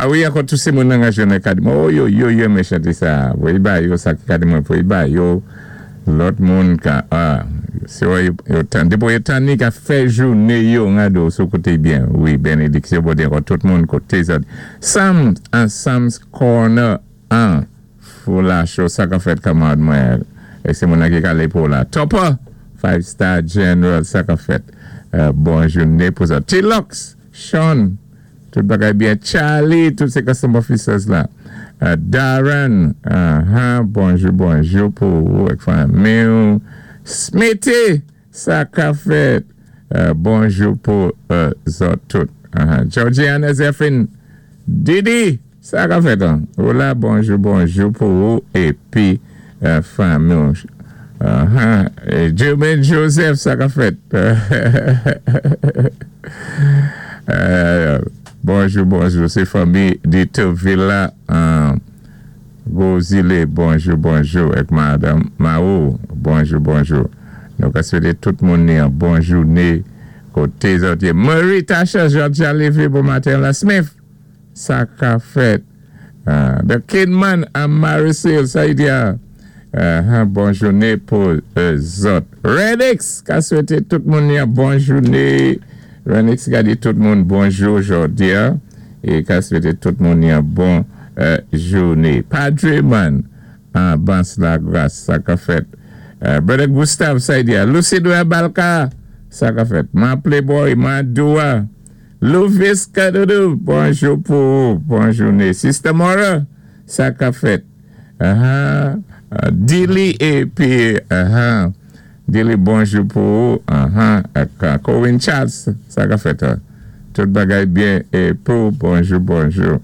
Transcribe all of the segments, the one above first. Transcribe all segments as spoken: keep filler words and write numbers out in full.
A wi, ankò tou sé moun nan rejyon ka di, oh yo, yo, yo renmen chanté sa. Voyé ba yo sa ki ka di mwen voyé ba yo. Lòt moun ka, ah, sé wè yo, yo tan, depi yo tan ni ka fè jouné yo ngado sou koté byen. Wi, bénédiksyon Bondye ankò tout moun koté sa. Sam, an Sam's Corner an, Foula Show, sa ka fèt kanmarad mwen. É sé moun ki ka pou la. Topper, Five Star General, sa ka fèt. Euh, bon jouné pou sa. T-Lux, Sean, tout bagay byen. Charlie, tout sé custom officers la. Euh, Darren, uh-huh, bonjou, bonjou pou ou ak fanmi. Smithy, sa ka fèt. Euh, bonjou pou euh, zòt tout. Uh-huh. Georgiana Zephyrin, Didi, sa ka fèt. Hein? Hola, bonjou, bonjou pou ou épi euh, fanmi. Uh-huh. É Jermaine Joseph, sa ka fèt. Euh, bonjou, bonjou, sé fanmi Ditouville la. Euh, Gozile, bonjou, bonjou. Ak madanm Mao, bonjou, bonjou. Nou ka swété tout moun ni yon bon jouné. Koté zòt yé. Marie Tasha, Georgia Levy, bon maten la Smith. Sa ka fèt. Uh, The Kidman and Maricel, sa y di a. Uh, bon jouné pou euh, zòt. Redix, ka swété tout moun ni yon bon jouné. Renix ka di tout moun bonjou jòdi a. É ka swété tout moun yon bon euh, jouné. Padre Man, an Bans la Gras, sa ka fèt. Euh, Brother Gustave, sa y di a. Lucidou Balka, sa ka fèt. Ma Playboy, ma Doua. Louvis Kadoudou, bonjou pou ou, bon jouné. Sister Mora, sa ka fèt. Uh-huh. Uh, Dili épi, uh-huh. Dili bonjou pou ou, uh-huh. Ak uh, Cohen Charles, sa ka fèt. Uh. Tout bagay byen é pou, bonjou, bonjou.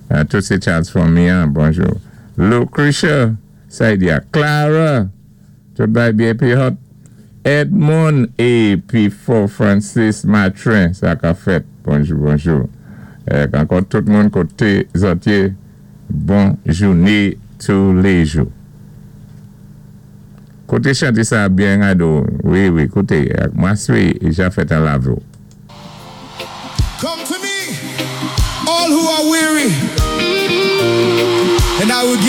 Uh, tout sé Charles fanmi, hein, bonjou. Lucretia, sa y di a. Clara, tout bagay byen épi hot. Edmond épi Fort Francis Matrin, sa ka fèt. Bonjou, bonjou. Euh, ankò tout moun koté zòt yé, bon jouné tous les jours. Koté chanté sa byen ado. Wi, wi, koté. Mwen swi, j'ai fait un lavo. Come to me, all who are weary, and I will give